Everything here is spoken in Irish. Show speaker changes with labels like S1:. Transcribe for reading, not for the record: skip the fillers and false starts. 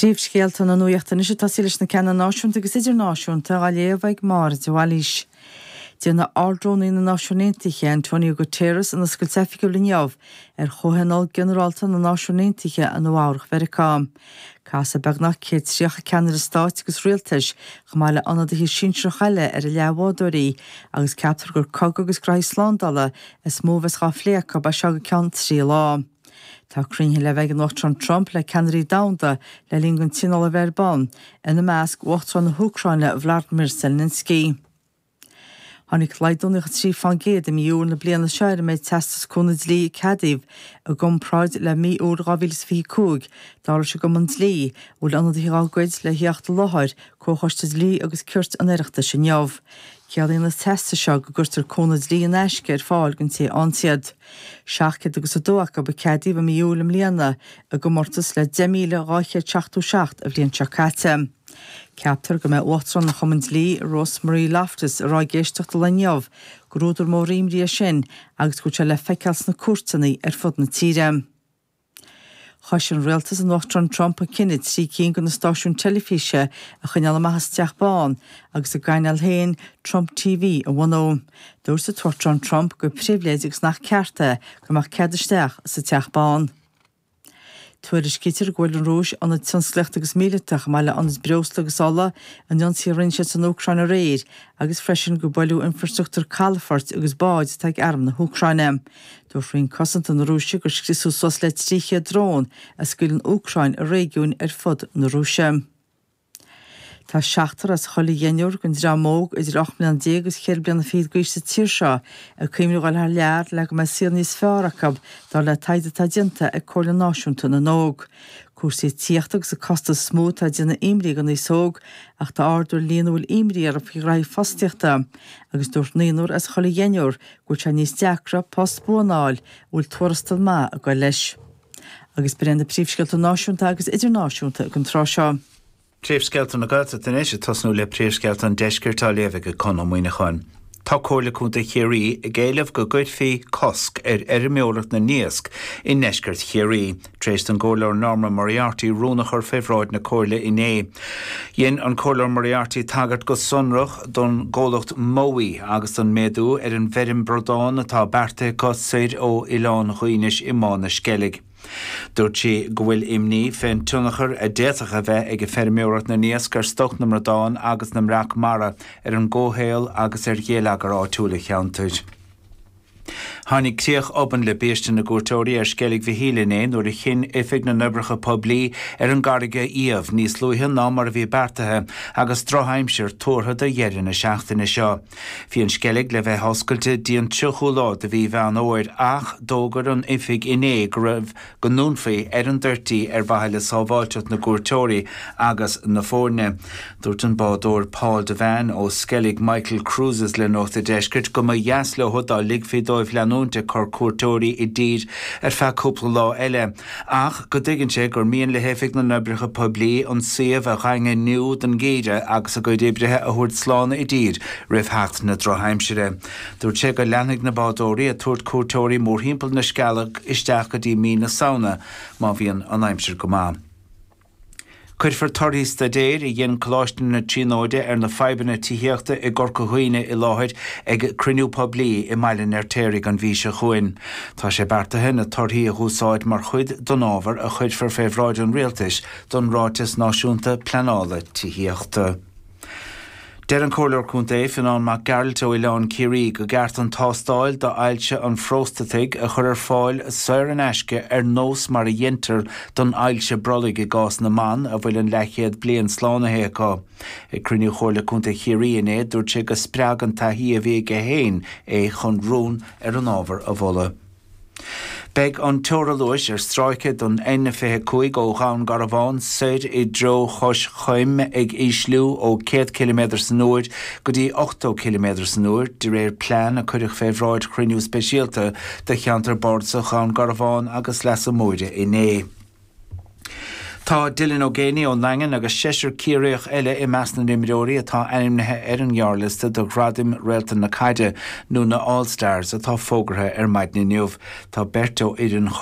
S1: Príomhscéalta na nuachta anois ag tosaí leis na ceanna náisiúnta agus idirnáisiúnta á léamh ag Máire de Bhailís. Déanfaidh Ard-Rúnaí na Náisiún Aontaithe, Antonio Guterres, an oscailt oifigiúil inniu ar Chomhthionól Ginearálta na Náisiún Aontaithe i Nua Eabhrac Mheiriceá. Casfaidh beagnach 130 ceannaire stáit agus rialtais, chomh maith le ionadaithe sinsearacha eile ar a leathbhádóirí, agus ceaptar gur cogadh agus graithí slándála is mó a bheas dhá phlé acu as seo go ceann 3 lá. Tá cruinnithe le bheith ag an Uachtarán Trump le ceannairí domhanda le linn don tionól a bheith ar bun, ina measc Uachtarán na hÚcráine Vladimir Zelensky. Tháinig laghdú 93% i mí Iúil na bliana seo ar an méid teastas cúnamh dlí a ceadaíodh i gcomparáid le mí Iúil 2025, dar leis an gCumann Dlí, a bhfuil ionadaithe dá gcuid le theacht i láthair Comhchoiste Dlí agus Cirt an Oireachtais inniu. Ciallaíonn na teastais seo go gcuirtear cúnamh dlí in aisce ar fáil don té a fhaigheann iad. 702 acu a ceadaíodh i mí Iúil i mbliana, i gcomórtas le 10,277 an bhliain seo caite. Ceaptar go mbeidh Uachtarán an Chumainn Dlí, Rosemary Loftus, ag rá ag éisteacht an lae inniu gur údar mór imní é sin agus go bhfuil sé le feiceáil sna cúirteanna ar fud na tíre. Chois an rialtas an Uachtaráin Trump an cinneadh 3 cinn de na stáisiúin teilifíse a choinneáil amach as an Teach Bán agus a gcainéal féin, Trump TV, a bhunú. Dúirt an tUachtarán Trump gur pribhléid agus nach ceart é go mbeadh cead isteach sa Teach Bán. Tuairiscítear go bhfuair an Rúis ionaid tionsclaíochta agus míleata chomh maith le hionaid breosla agus ola in ionsaithe a rinne siad san Úcráin aréir agus freisin gur buaileadh infreastruchtúr calafoirt agus báid atá ag arm na hÚcráine. Dúirt Roinn Cosanta na Rúise gur scriosadh suas le 300 drón a scaoil an Úcráin i réigiúin ar fud na Rúise. Tá seachtar as chuile dheichniúr den dream óg idir 18 mbliana agus cheithre bliana fichead d'aois sa tír seo ag cuimhneamh a dhul thar lear le go mbeidh saol níos fearr acu, dar le taighde atá déanta ag Comhairle Náisiúnta na nÓg. Cúrsaí tithíochta agus an costas is mó atá ag déanamh imní don aos óg ach tá ardú ar líon a bhfuil imní orthu faoi ghraithí fostaíochta agus dúirt naonúr as chuile dheichniúr go bhfuil sé níos deacra post buan a fháil a bhfuil tuarastal maith ag goil leis. Agus b'in iad na príomhscéalta náisiúnta agus idirnáisiúnta ag an tráth seo.
S2: Príomhscéalta na Gaeltachta anois, ag tosnú le príomhscéalta an Deiscirt á léamh ag Conn Ó Muíneacháin. Tá Comhairle Contae Chiarraí ag éileamh go gcuirfí cosc ar fheirmeoireacht na n-iasc i ndeisceart Chiarraí, tar éis don gComhairleoir Norma Moriarty rún a chur fé bhráid na Comhairle inné. Dhein an Comhairleoir Moriarty tagairt go sonrach don gcomhlacht Mowi agus don méadú ar an bhfeirm bradán atá beartaithe acu soir ó Oileán Dhuínis i mBá na Sceilg. Dúirt sí go bhfuil imní fén tionchar a d'fhéadfadh a bheith ag feirmeoireacht na n-iasc ar stoc na mbradán agus na mbreac mara, ar an gcomhshaol agus ar gheilleagar áitiúil an cheantair. Tháinig críoch obann le biaiste na gcuairteoirí ar Sceilg Mhichíl inné nuair a chinn Oifig na nOibreacha Poiblí ar an gcarraig a iamh níos luaithe ná mar a bhí beartaithe agus drochaimsir tuartha do dheireadh na seachtaine seo. Bhí an Sceilg le bheith oscailte dtí an 30ú lá de mhí Mheán Fhómhair ach d'fhógair an Oifig inné go raibh go ndúnfaí ar an dtoirt í ar mhaithe le sábháilteacht na gcuairteoirí agus na foirne. Dúirt an bádóir Paul Devane ó Skellig Michael Cruises le Nuacht a' Deiscirt go mba dheas leo dá ligfí dóibh leanúint ag cur cuairteoirí i dtír ar feadh cúpla lá eile ach go dtuigeann sé gur mian le hOifig na nOibreacha Poiblí an suíomh a dhaingniú don gheimhreadh agus a gcuid oibrithe a thabhairt slán i dtír roimh theacht na drochaimsire. Dúirt sé go leanfaidh na bádóirí ag tabhairt cuairteoirí mórthimpeall na Sceilge isteach go dtí mí na Samhna má bhíonn an aimsir go maith. Cuirfear torthaí staidéir a dhein Coláiste na Tríonóide ar na fadhbanna tithíochta i gCorca Dhuibhne i láthair ag cruinniú poiblí i mBaile an Fheirtéaraigh an mhí seo chugainn. Tá sé beartaithe na torthaí a dh'úsáid mar chuid den ábhar a chuirfear fé bhráid an Rialtais don Ráiteas Náisiúnta Pleanála Tithíochta. Deir an Comhairleoir Contae, Fionán Mac Gearailt ó Oileán Ciarraí go gceart an tástáil d'ailse an phróstataigh a chur ar fáil saor in aisce ar nós mar a dheintear don ailse brollaigh i gcás na mban a bhfuil an leathchéad bliain slánaithe acu. Ag cruinniú Chomhairle Contae Chiarraí inné dúirt sé go spreag an taithí a bhí aige féin é chun rún ar an ábhar a mholadh. Beidh an teora luais ar stráice den N25 ó Dhún Garbhán soir i dtreo Chois Choim ag ísliú ó 100 ciliméadar san uair go dtí 80 ciliméadar san uair, de réir plean a cuireadh fé bhráid chruinniú speisialta de cheantar bardasach Dhún Garbhán agus Leasa Móire inné. Tá Dylan Ó Géibheannaigh ón nDaingean agus seisear Ciarraíoch eile i measc na n-imreoirí atá ainmnithe ar an ngearrliosta do Ghradaim Réalta na Caide, nó na All Stars, atá fógartha ar maidin inniu. Tá beirt ó fhoireann Chorcaí.